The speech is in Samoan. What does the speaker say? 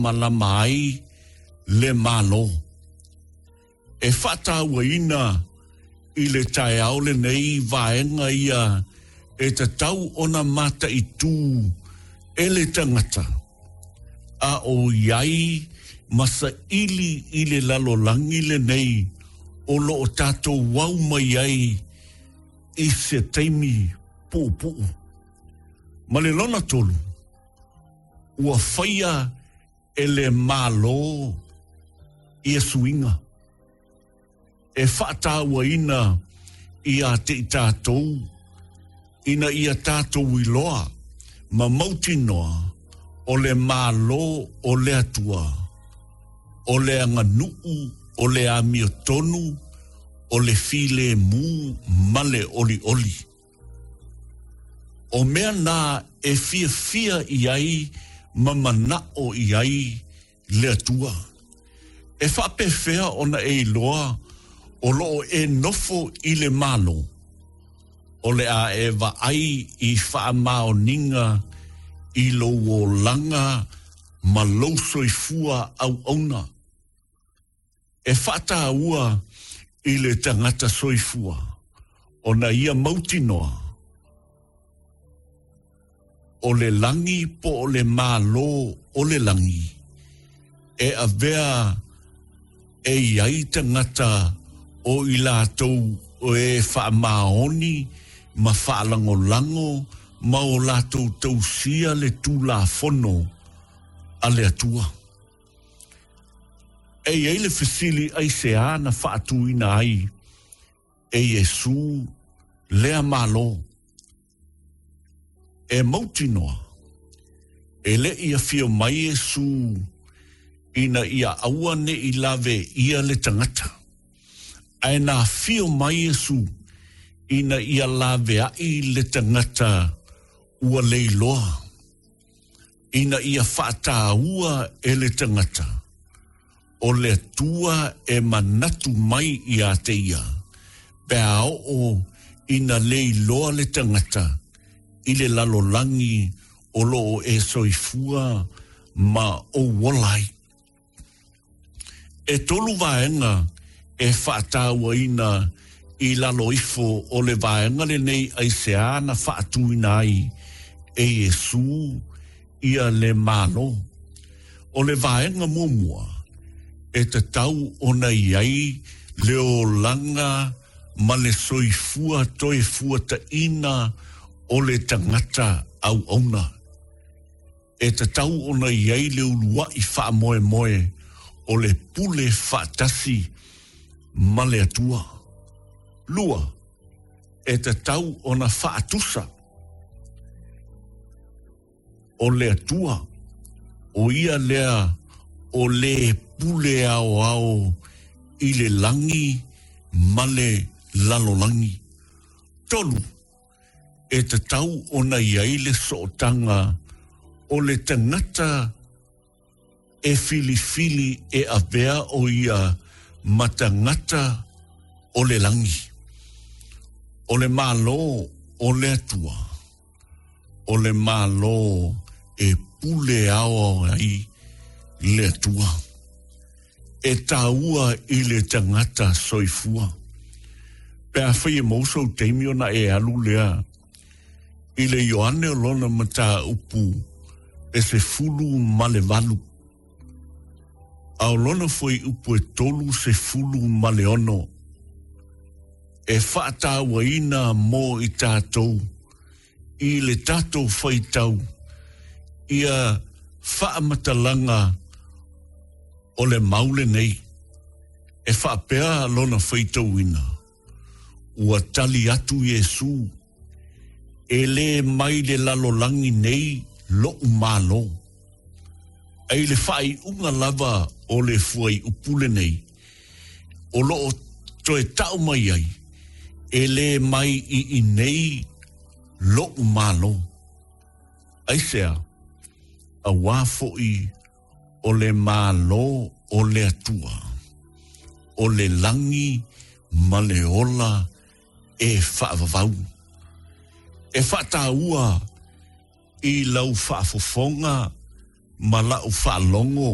faamalama ai le Malo. E faatauaina i le taeao lenei vaega ia e tatau ona mataitū e le tagata a o i ai ma saili i le lalolagi lenei o lo o tatou au mai ai i se taimi puupuu. Ma le lona tolu, ua faia e le Malo ia suiga e faatauaina ia te i tatou ina ia tatou iloa ma mautinoa o le Malo o le Atua, o le aganuu, o le amiotonu, o le filemu ma le olioli. O mea na e fiafia i ai ma manao i ai le Atua. E faapefea ona e iloa o lo o e nofo i le Malo, o le a e vaai i faamaoniga i lou olaga ma lou soifua auauna. E faataua i le tagata soifua ona ia mautinoa o le lagi po o le Malo o le lagi e avea e i ai tagata o i latou e faamaoni ma faalagolago ma o latou tausia le Tulafono a le Atua. E i ai le fesili aisea na faatuina ai e Iesū lea Malo? E mautinoa, e le i afio mai Iesū ina ia aua ne i lawe ʻia le tagata, ae na afio mai Iesū ina ia laveaʻi le tagata ua leiloa. Ina ia faataua e le tagata, o le Atua e manatu mai iā te ia, pe a oo ina leiloa le tagata i le lalolagi o lo o e soifua ma ou ola ai. E tolu vaega e faatauaina i lalo ifo o le vaega lenei aisea na faatuina ai e Iesū ia le Malo. O le vaega muamua, e tatau ona i ai le olaga ma le soifua toe fuataina o le tagata auauna. E tatau ona i ai le uluaʻi faamoemoe o le pule faatasi ma le Atua. Lua, e tatau ona faatusa o le Atua, ʻo ia lea o le pule aoao i le lagi ma le lalolagi. Tolu, e tatau ona i ai le sootaga o le tagata e filifili e avea ʻo ia ma tagata o le lagi, o le Malo o le Atua, o le Malo e pule aoao ai le Atua. E taua i le tagata soifua. Pe afai e maua sou taimi ona e alu lea i le Ioane o lona mataupu e 18, a o lona fuaiupu e 36, e faatauaina mo i tatou i le tatou faitau ia faamatalaga o le mau lenei, e faapea lona faitauina, Ua tali atu Iesū, E lē mai le lalolagi nei loʻu Malo. A i le faaiuga lava o le fuaiupu lenei, o lo o toe taʻu mai ai, E lē mai i inei loʻu Malo. Aisea? Auā foʻi o le Malo o le Atua, o le lagi ma le ola e faavavau. E faataua i lau faafofoga ma lau faalogo.